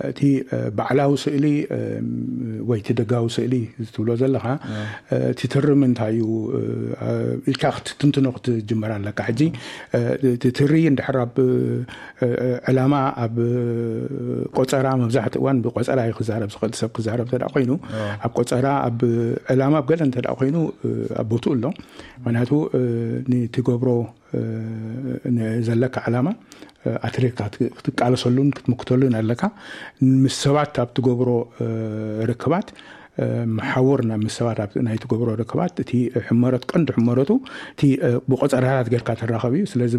እቲ ባዕላዊ ስእሊ ወይ እቲ ደጋዊ ስእሊ ትብሎ ዘለኻ፣ እቲ ትርም እንታይ እዩ ኢልካ ክትትንትኖ ክትጅመር ኣለካ። ሕጂ እቲ ትሪ እንድሕር ኣብ ዕላማ፣ ኣብ ቆፀራ፣ መብዛሕትኡ እዋን ብቆፀራ እዩ ክዛረብ ዝኽእል ሰብ ክዛረብ እንተ ኮይኑ፣ ኣብ ቆፀራ፣ ኣብ ዕላማ፣ ኣብ ገለ እንተ ኮይኑ ኣብ ቦትኡ ኣሎ። ምክንያቱ ንትገብሮ ዘለካ ዕላማ ኣትሪርካ ክትቃለሰሉን ክትምክተሉን ኣለካ። ምስ ሰባት ኣብ ትገብሮ ርክባት፣ መሓውር ናብ ምስ ሰባት ኣብ ናይ ትገብሮ ርክባት፣ እቲ ሕመረት፣ ቀንዲ ሕመረቱ እቲ ብቆፀራታት ጌርካ ትራኸብ እዩ። ስለዚ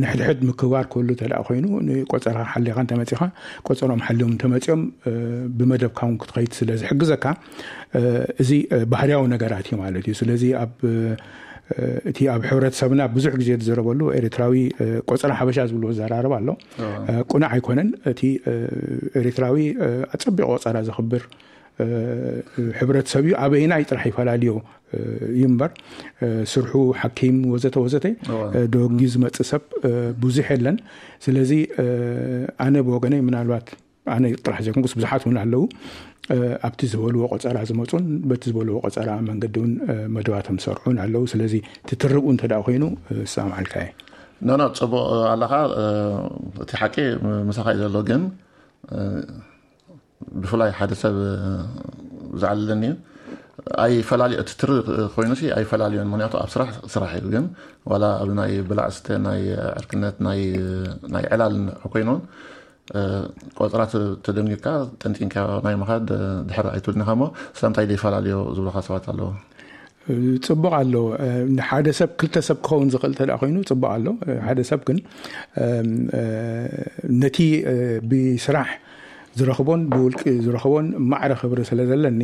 ንሕድሕድ ምክባር ክህሉ እንተ ኮይኑ፣ ንቆፀራ ሓሊኻ እንተመፂኻ፣ ቆፀሮም ሓሊዮም እንተመፂኦም፣ ብመደብካ እውን ክትኸይድ ስለ ዝሕግዘካ፣ እዚ ባህርያዊ ነገራት እዩ ማለት እዩ። ስለዚ ኣብ እቲ ኣብ ሕብረተሰብና ብዙሕ ግዜ ዝዘረበሉ ኤርትራዊ ቆፀራ ሓበሻ ዝብልዎ ዘራረብ ኣሎ። ቁኑዕ ኣይኮነን። እቲ ኤርትራዊ ኣጸቢቑ ቆፀራ ዘኽብር ሕብረተሰብ እዩ። ኣበይናይ ጥራሕ ይፈላልዮ እዩ እምበር፣ ስርሑ፣ ሓኪም፣ ወዘተ ወዘተ፣ ደጊ ዝመጽእ ሰብ ብዙሕ የለን። ስለዚ ኣነ ብወገነይ፣ ምናልባት ኣነ ጥራሕ ዘይኮንኩስ ብዙሓት እውን ኣለዉ፣ ኣብቲ ዝበልዎ ቆፀራ ዝመፁን በቲ ዝበልዎ ቆፀራ መንገዲ እውን መደባቶም ዝሰርዑን ኣለዉ። ስለዚ ትትርብኡ እንተ ደኣ ኮይኑ፣ ዝሰማማዓልካ እየ። ኖ፣ ኖ፣ ጽቡቕ ኣለኻ። እቲ ሓቂ ምሳኻ እዩ ዘሎ፣ ግን ብፍላይ ሓደ ሰብ ዝዓለለኒ እዩ። ኣይፈላልዮ፣ እቲ ትሪ ኮይኑሲ ኣይፈላልዮን፣ ምክንያቱ ኣብ ስራሕ ስራሕ እዩ። ግን ዋላ ኣብ ናይ ብላዕ ስተ፣ ናይ ዕርክነት፣ ናይ ዕላል ኮይኑን ቆፅራ ተደንጊርካ ጠንጢንካ ናይ ምኻድ ድሕር ኣይትብልን ኢኻ እሞ፣ ስለምንታይ ዘይፈላለዮ ዝብሉኻ ሰባት ኣለዉ። ጽቡቕ ኣሎ። ንሓደ ሰብ፣ ክልተ ሰብ ክኸውን ዝኽእል እንተ ኮይኑ ጽቡቕ ኣሎ። ሓደ ሰብ ግን ነቲ ብስራሕ ዝረኽቦን ብውልቂ ዝረኽቦን ማዕረ ክብሪ ስለ ዘለኒ፣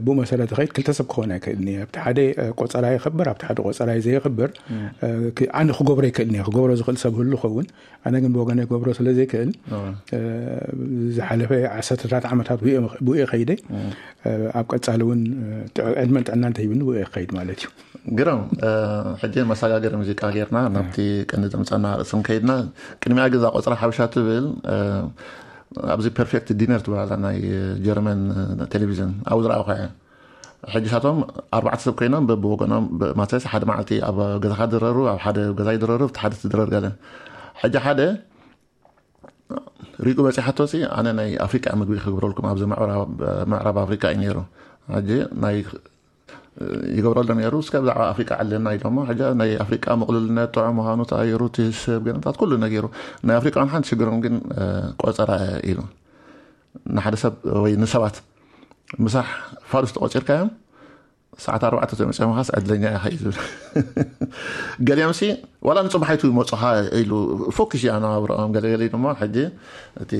ብኡ መሰረት ኸይድ ክልተ ሰብ ክኸውን ኣይክእልን እየ። ኣብቲ ሓደ ቆጸራ የኽብር፣ ኣብቲ ሓደ ቆጸራ ዘየኽብር፣ ኣነ ክገብሮ ኣይክእልን እየ። ክገብሮ ዝኽእል ሰብ ህሉ ኸውን፣ ኣነ ግን ብወገነ ክገብሮ ስለ ዘይክእል፣ ዝሓለፈ ዓሰርተታት ዓመታት ብኡ ከይደ፣ ኣብ ቀጻሊ እውን ዕድመን ጥዕና እንተሂብኒ ብኡ ክኸይድ ማለት እዩ። ግርም። ሕጂ መሰጋገሪ ሙዚቃ ጌርና ናብቲ ቀንዲ ዘምጻና ርእስን ከይድና፣ ቅድሚያ ግዛ ቆጽራ ሓበሻ ትብል፣ ኣብዚ ፐርፌክት ዲነር ትበሃል ናይ ጀርመን ቴሌቪዥን ኣብኡ ዝረኣኹ እየ። ሕጂ ሳቶም ኣርባዕተ ሰብ ኮይኖም በብወገኖም፣ ማለትስ ሓደ መዓልቲ ኣብ ገዛኻ ድረሩ፣ ኣብ ሓደ ገዛ ይድረሩ፣ እቲ ሓደ ትድረር ገለ። ሕጂ ሓደ ሪቁ በፂሓቶ ሲ፣ ኣነ ናይ ኣፍሪቃ ምግቢ ክግብረልኩም፣ ኣብዚ ምዕራብ ኣፍሪቃ እዩ ነይሩ። ሕጂ ናይ ይገብረሉ ነይሩ። እስከ ብዛዕባ ኣፍሪቃ ዕለና ኢሎሞ። ሕጂ ናይ ኣፍሪቃ ምቕሉልነት ጥዑም ምዃኑ ተኣይሩ፣ እቲ ሰብ ገንታት ኩሉ ነጊሩ። ናይ ኣፍሪቃ ሓንቲ ሽግሮም ግን ቆፀራ ኢሉ። ንሓደ ሰብ ወይ ንሰባት ምሳሕ ፋሉስ ተቆፂርካዮም፣ ሰዓት ኣርባዕተ ተመፅኦም ኻስ ዕድለኛ ኢኻ እዩ ዝብል። ገሊኦም ሲ ዋላ ንፅባሕ ኣይትመፁኻ ኢሉ ፎክስ እዩ ኣነባብረኦም። ገለገሊ ድማ ሕጂ እቲ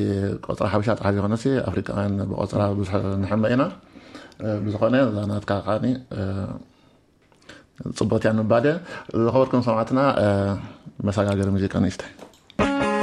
ቆፅራ ሓበሻ ጥራሕ ዘይኮነሲ ኣፍሪቃውያን ብቆፅራ ብዙሕ ንሕመ ኢና። ብዝኾነ እዛ ናትካ ከዓኒ ፅቡቅ እያ ንምባል እየ። ዝኸበርኩም ሰማዕትና፣ መሰጋገሪ ሙዚቃ ንእሽተይ።